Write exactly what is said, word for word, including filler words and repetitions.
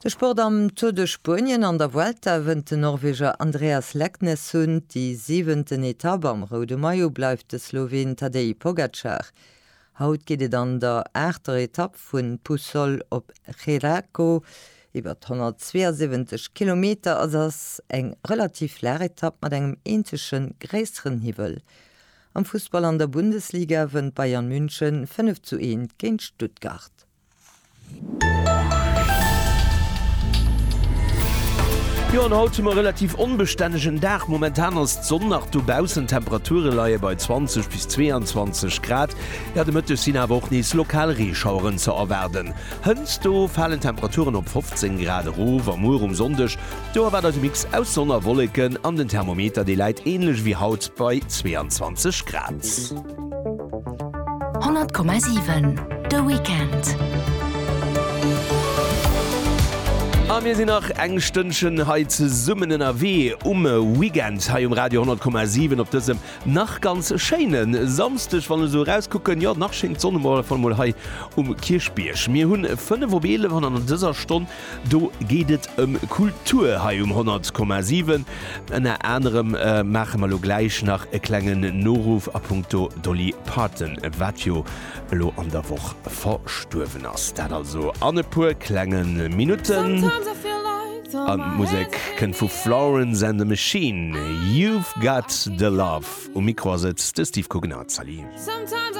De Sport am Tour de Spuenien an der Vuelta wënnt den Norweger Andreas Leknessund déi siwenten Etapp am roude Maillot bleift de Sloween Tadej Pogacar. Haut geet et an der aachter Etapp vun Puçol op Xeraco iwwer honnertzweeasiwwenzeg Kilometer ass ass eng relativ flaach Etapp mat engem eenzege gréisseren Hiwwel. Am Fussball an der Bundesliga wënnt Bayern München fënnef zu eent géint Stuttgart. Jo an haut hu mer e relativ onbestännegen Dag. Momentan ass d'Sonn nach dobaussen, d'Temperature leie bei zwanzeg bis zweeanzwanzeg Grad. Jo, de Mëtteg sinn awer och nees lokal Reeschaueren ze erwaarden. Hënst do falen d'Temperaturen op fofzéng Grad erof a muer um Sonndeg, do erwaart eis e Mix aus Sonn a Wolleken an den Thermometer dee läit änlech wéi haut bei zweeanzwanzeg Grad. Honnert Komma siwen, De Weekend. A mir sinn nach eng Stënnchen hei zesummen ënnerwee um Weekend hei um Radio honnert Komma siwen op dësem nach ganz schéine Samsdeg. Wann ech esou erauskucken, jo nach schéngt d'Sonn op alle Fall mol hei um Kierchbierg. Mir hunn fënnef op eelef an an dëser Stonn do geet et ëm Kultur hei um honnert Komma siwen. Ënner anerem maache mer elo gläich nach e klengen Noruff a punkto Dolly Parton, wat jo elo an der Woch verstuerwen ass. Dat also an e puer klenge Minutten. An d'Musek kënnt vu Florence and the Machine, You've Got the Love. Um Mikro ass et de Steve Coogan. Salut.